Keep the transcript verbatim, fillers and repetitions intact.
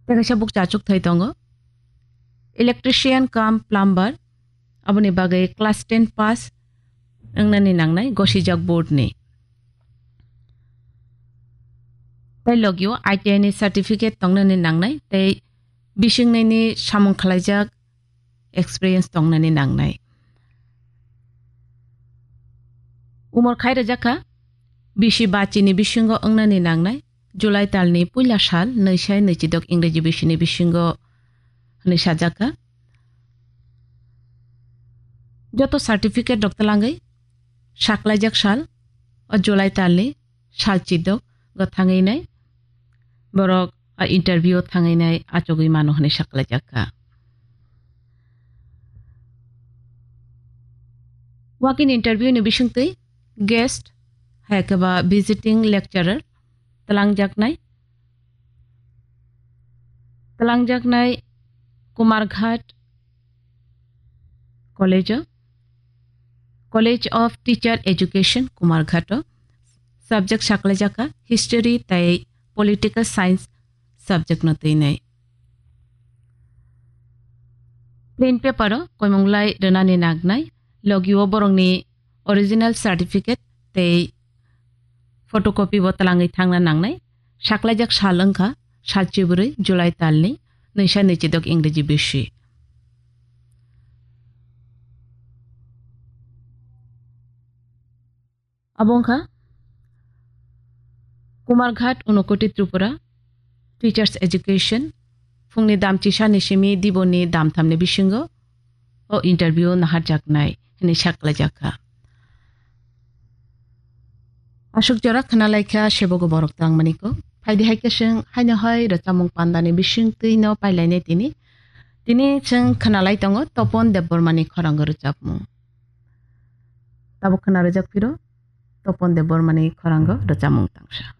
Tei kaisa buk chachuk thai tongo, electrician cum plumber, aboni bagwi class ten pass wngnani nangnai gosijak board ni. Tei logio I T I ni certificate tongnani nangnai tei bising nini samung khlaijak experience tongnani nangnai. Umor khai rwjak kha bisi ba chini bisingo wngnani nangnai, July talni puila sal, nwi sai nwi chidok Ingreji bisini bisingo hwnwi sajak kha. Joto certificate rok twlangwi saklaijak sal, o July talni sal chidok go thangwi nai borok a interview o thangwi nai achugwi mano hwnwi saklaijak kha. Walk-in interview ni bisingtwi guest hai khe ba visiting lecturer twlangjaknai, twlangjaknai Kumarghat College o, College of Teacher Education Kumarghat o subject saklaijak kha history tei political science subject no twinai. Plain paper o koimung lai rwnani nangnai, logio borokni original certificate tei photocopy bo twlangwi thangna nangnai. Saklaijak sal wngkha sal chibrwi July talni nwi sai nwi chidok Ingreji bisi. Abo wngkha Kumarghat, Unakoti, Tripura, Teachers Education, phungni dam chisani simi diboni dam thamni bisingo o interview naharjaknai hwnwi saklaijak kha. Aswk jora khna lai kha sebogo borok twlangmani kok. Phaidi hai khe chwng haino hai rwchapmung pandani bisingtwi no pailainai tini. Tini chwng khna lai tongo Topon Debbarmani khorango rwchapmung. Tabuk khna rwjak phiro Topon Debbarmani khorango rwchapmung tangsa.